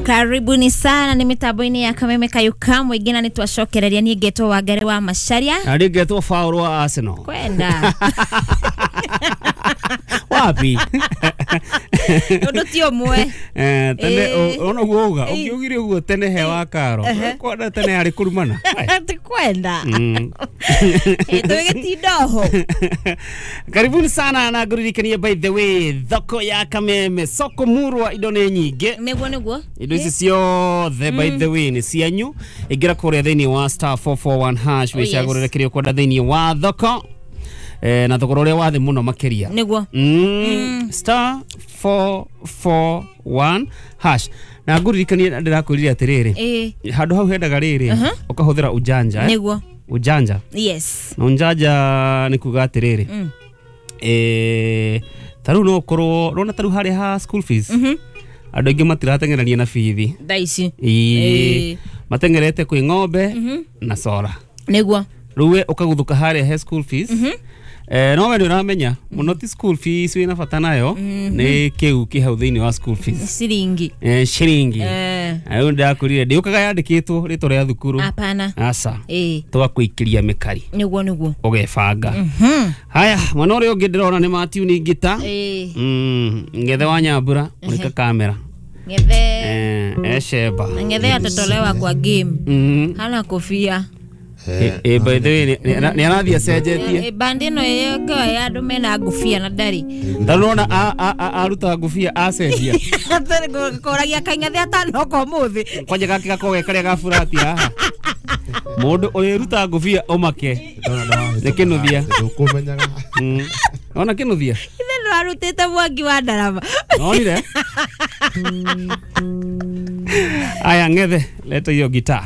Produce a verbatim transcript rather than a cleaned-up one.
Karibuni sana ni mitambo-inĩ ya Kameme Kayuka mũingĩ na nĩtwacokereria niĩ ngetwo Wangari wa Macharia Na rĩngĩ ngetwo Faũlũ wa Arsenal. Kwenda Wapi? Ũndũ ti ũmwe. Eh, tene Ĩĩ. ona ũguo uga Ĩĩ. ũngiugire ũguo tene he wa karo kwenda tene harĩ kũrumana. Ti kwenda. Mm. Ĩ, tũgĩtinda oho. Karibuni sana na ngũririkanie by the way thoko ya Kameme soko murwa indo nĩ nyingĩ Nĩguo nĩguo. Indo ici ciothe by the way nĩ cianyu ingĩra kũrĩa thĩinĩ wa star four four one hash Oh, yes. wĩcagũrĩre kĩrĩa ũkwenda thĩinĩ wa thoko eh, na thogora ũrĩa wa thĩ mũno makĩria. Nĩguo. Mm, star four four one hash na ngũririkanie ndĩrakwĩrire atĩrĩrĩ Ĩĩ. handũ hau hendaga rĩrĩ ũkahũthĩra ujanja eh? Nĩguo. Ujanja. Yes. Na ujanja nĩ kuga atĩrĩrĩ Mm. eh, ta rĩu no ũkorwo rona ta rĩu harĩa ha school fees andũ aingĩ matirateng'erania na bithi. Thaa ici. Ĩĩ. Ĩĩ. Mateng'erete kwĩ ng'ombe na cora. Nĩguo. Rĩu we ũkaguthũka harĩa he school fees eh, no we nĩ ũramenya mũno ti school fees wĩna bata nayo nĩ kĩu kĩ hau thĩinĩ wa school fees. Ciringi. Eh, ciringi. Eh. Na rĩu ndĩrakwĩrire ndĩũkaga yandĩkĩtwo rĩtwa rĩa thukuru. Hapana. Aca. Ĩĩ. Tũgakũikĩria mĩkari Nĩguo nĩguo. ũgebanga. Mhm. Haya mwena ũrĩa ũngĩ ndĩrona nĩ matiuni ngita. Ĩĩ. Mm, ngethe wa Nyambura mũrika kamera. Ngethe. Eh, esheba. Ngethe atatolewa kwa game. Mm. Hana kofia. Eh, eh, by the way nĩ nĩ arathiĩ acenjetie. Eh, bandi ĩno yokewa ya andũ mena ngũbia na ndarĩ. Ta rĩu ũrona aruta ngũbia acenjia. Koragia kaing'ethe atanoka ũmũthĩ. Kwanja gake gakoragwo ge karĩa ga burati haha. Mũndũ ũrĩruta ngũbia ũmake. Nĩ kĩnuthia. Ndũkũmenyaga. Mm. Ona kĩnuthia? Ithe nĩwarutĩte mwangi wa ndarama. Nonire? Aya ng'ethe, leta hiyo gitaa.